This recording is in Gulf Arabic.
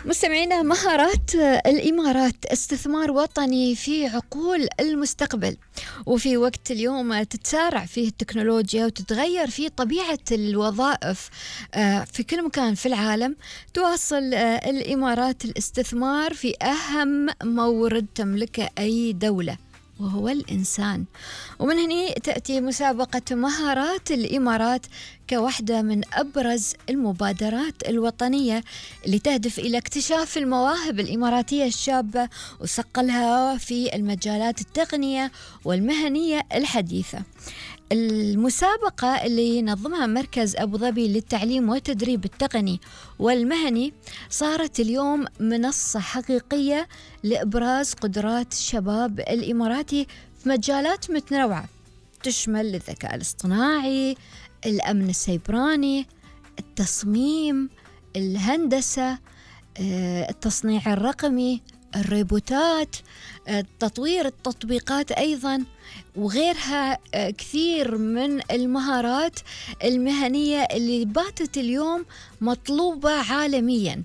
مستمعينا، مهارات الإمارات استثمار وطني في عقول المستقبل. وفي وقت اليوم تتسارع فيه التكنولوجيا وتتغير فيه طبيعة الوظائف في كل مكان في العالم، تواصل الإمارات الاستثمار في أهم مورد تملكه أي دولة، وهو الإنسان. ومن هنا تأتي مسابقة مهارات الإمارات كواحدة من أبرز المبادرات الوطنية اللي تهدف إلى اكتشاف المواهب الإماراتية الشابة وصقلها في المجالات التقنية والمهنية الحديثة. المسابقة اللي ينظمها مركز أبو ظبي للتعليم والتدريب التقني والمهني صارت اليوم منصة حقيقية لإبراز قدرات الشباب الإماراتي في مجالات متنوعة تشمل الذكاء الاصطناعي، الأمن السيبراني، التصميم، الهندسة، التصنيع الرقمي، الروبوتات، تطوير التطبيقات أيضاً، وغيرها كثير من المهارات المهنية اللي باتت اليوم مطلوبة عالمياً.